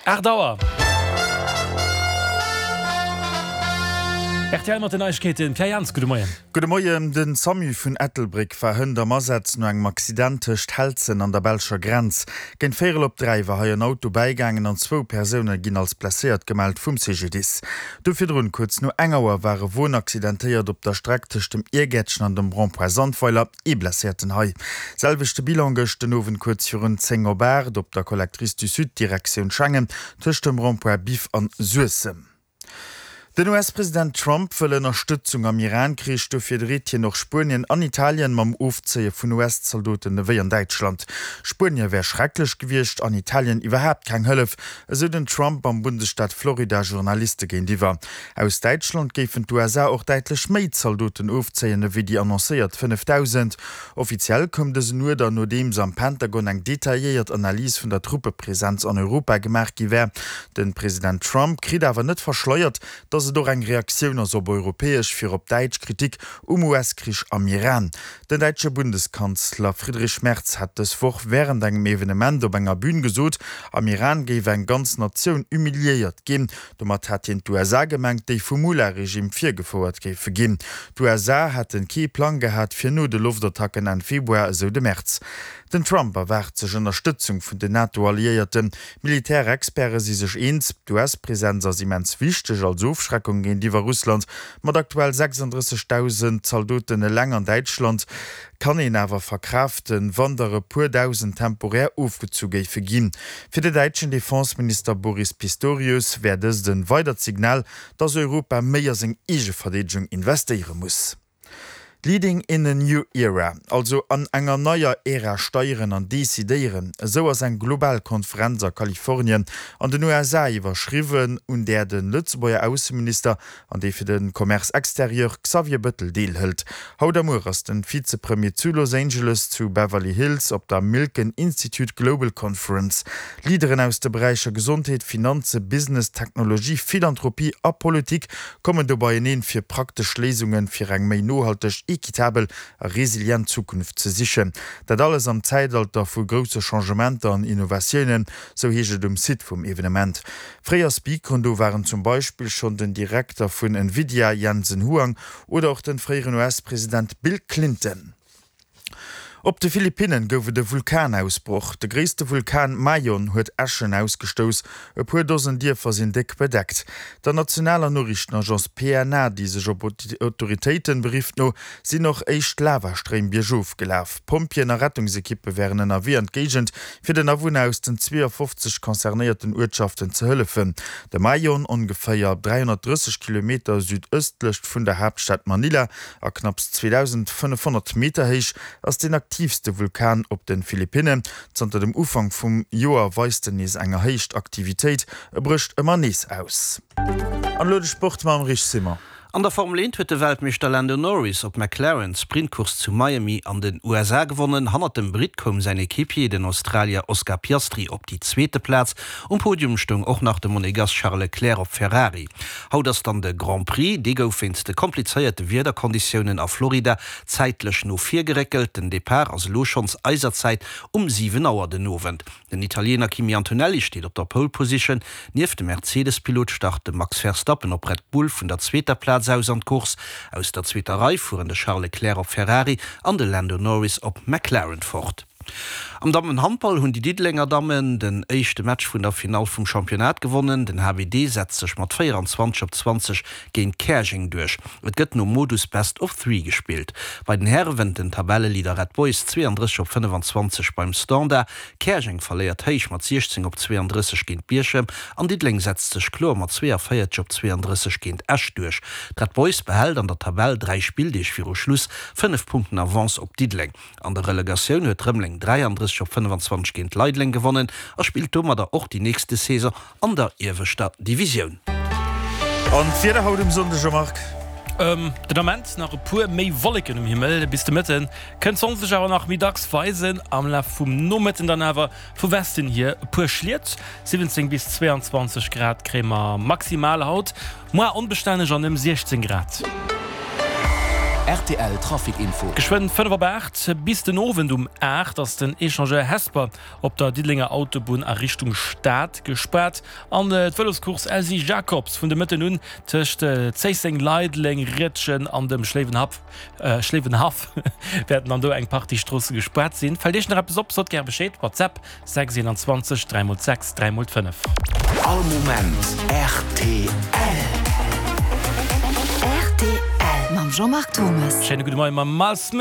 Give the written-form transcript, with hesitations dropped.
8 Auer. Rtl mat den Neiegkeeten, Pierre Jans, gudde Moien. Gudde Moien. Den Samu vun Ettelbréck war hënt am Asaz no engem Accident tëscht Helzen an der belscher Grenz. Géint véierel op 3 war hei en Auto bäigaangen an zwou Persoune ginn als blesséiert gemellt vum CGDIS. Do virdrun, kuerz no eng Auer, war e Won accidentéiert op der Streck tëscht dem Iergäertchen an dem Rond-point Sandweiler. Ee Blesséierten hei. Selwechte Bilan gëscht den Owend kuerz virun 10 op 8 op der Collectrice du Sud Direktioun Schengen tëscht dem Rond-point Biff an Suessem. Den US-President Trump wëll Ënnerstëtzung am Iran-Krich. Dofir dreet hien och Spuenien an Italien mam Ofzéie vun US-Zaldoten ewéi an Däitschland. Spuenie wär schrecklech gewiescht an Italien iwwerhaapt keng Hëllef, esou den Trump am Bundesstaat Florida Journaliste géintiwwer. Aus Däitschland géifen d'USA och däitlech méi Zaldoten ofzéien ewéi déi annoncéiert 5.000. Offiziell koum dësen Uerder, nodeems am Pentagon eng detailléiert Analys vun der Truppepresenz an Europa gemaach gi wär. De President Trump kritt awer net verschleiert, datt et och eng Reaktioun ass op europäesch, virop däitsch Kritik um US-Krich am Iran. Den däitsche Bundeskanzler Friedrich Merz hat dës Woch wärend engem Evenement op enger Bün gesot, am Iran géif eng ganz Natioun humiliéiert ginn. Domat hat hien d'USA gemengt, déi vum Mullah-Regime virgefouert géife ginn. D'USA hätte kee Plang gehat fir no de Loftattacken Enn Februar, esou de Merz. Den Trump erwaart sech Ënnerstëtzung vun den NATO-Alliéierten. Militärexperte si sech eens, d'US-Presenz ass immens wichteg als Ofschreckung géintiwwer Russland. Mat aktuell 36.000 Zaldoten eleng an Däitschland kann een awer verkraaften, wann der e puer dausend temporär ofgezu géife ginn. Fir de däitschen Defenseminister Boris Pistorius wär dëst en weidert Signal, datt Europa méi a seng eege Verdeedegung investéiere muss. Leading in a new era, also an enger neier Ära steieren an decidéieren, esou ass eng global Konferenz a Kalifornien an den USA iwwerschriwwen, un där de Lëtzebuerger Ausseminister an dee fir de Commerce extérieur Xavier Bëttel deelhëlt. Haut a muer ass den Vizepremier zu Los Angeles zu Beverly Hills op der Milken Institute Global Conference. Leaderen aus de Beräicher Gesondheet, Finanze, Business, Technologie, Philanthropie a Politik kommen do beieneen, fir praktesch Léisunge fir eng méi nohalteg, equitabel a resilient Zukunft ze sichen. Dat alles am Zäitalter vu grousse Changementer an Innovatiounen, sou heescht et um Site vum Evenement. Fréier Speakeren do waren zum Beispill schonn den Direkter vun Nvidia Jensen Huang oder och den fréieren US-President Bill Clinton. Op de Philippinnen gouf et e Vulkanausbroch. De gréisste Vulkan Mayon huet Äschen ausgestouss, e puer Dosen Dierfer sinn déck bedeckt. Der nationaler Noriichtenagence PNA, déi sech op Autoritéiten berifft, no sinn och éischt Lavastréim biergof gelaf. Pompjeeën a Rettungsekippe wären ënnerwee an d'Géigend, fir den Awunner aus den 52 concernéierten Uertschaften ze hëllefen. De Mayon, ongeféier 330 Kilometer südëstlech vun der Haaptstad Manila a knapps 2.500 Meter héich, ass deen aktiivste Vulkan op de Philippinnen. Zanter dem Ufank vum Joer weist en nees eng erhéicht Aktivitéit, e brécht ëmmer nees aus. An elo de Sport mam Rich Simon. An der Formel 1 huet de Weltmeeschter Lando Norris op McLaren d'Sprintcourse zu Miami an den USA gewonnen. Hannert dem Britt koum säin Equipier, den Australier Oscar Piastri op déi zweete Plaz. Um Podium stoung och nach de Monegass Charles Leclerc op Ferrari. Haut ass dann de Grand Prix. Dee gouf wéinst de komplizéierte Wiederkonditiounen a Florida zäitlech no vir geréckelt. Den Depart ass elo schonns eiser Zäit um 7 Auer den Owend. Den Italiener Kimi Antonelli steet op der Pole Position. Nieft dem Mercedes-Pilot start de Max Verstappen op Red Bull vun der zweeter Plaz aus an d'Course. Aus der zweeter Rei fueren de Charles Leclerc op Ferrari an de Lando Norris op McLaren fort. Am Dammenhandball hunn déi Diddelenger Dammen den éischte Match vun der Finall vum Championnat gewonnen. Den HBD setzt sech mat 24 op 20 géint Käerjeng duerch. Et gëtt nom Modus Best of Three gespillt. Bei den Häre wënnt den Tabelleleader Red Boys 32 op 25 beim Standard. Käerjeng verléiert héich mat 16 op 32 géint Bierchem an Diddeleng setzt sech kloer mat 42 op 32 géint Esch duerch. D'Red Boys behält an der Tabell 3 Spilldeeg viru Schluss 5 Punkten Avance op Diddeleng. An der Relegatioun huet Rëmeleng 33 op 25 géint Leideleng gewonnen a spillt domadder och déi nächste Saison an der ieweschter Divisioun. An d'Wieder haut um Sonndeg, Jean-Marc? Den Ament nach e puer méi Wolleken um Himmel, bis de Mëtte kënnt d'Sonn sech awer nach méi dacks weisen. Am Laf vum Nomëtten dann awer vu Westen hier e puer Schliet. 17 bis 22 Grad kréie mer maximal haut, moar onbestänneg an ëm 16 Grad. Rtl Trafic Info. Geschwënn 5 op 8, Bis den Owend um 8 ass den Echangeur Hesper op der Diddelenger Autobunn a Richtung Stad gespaart an d'Vëloscourse Elsy Jacobs vun de Mëtten un tëscht Zéisseng, Leideleng, Riedgen an dem Schléiwenhaff wäerten an do eng Partie Stroosse gespaart sinn. Fält Iech nach eppes op, sot gär Bescheed, WhatsApp 6 21 3 x 6 3 x 5. All Moment rtl. Rtl mam Jean-Marc Thomas. Schéine gudde Moien mam Miles Smith.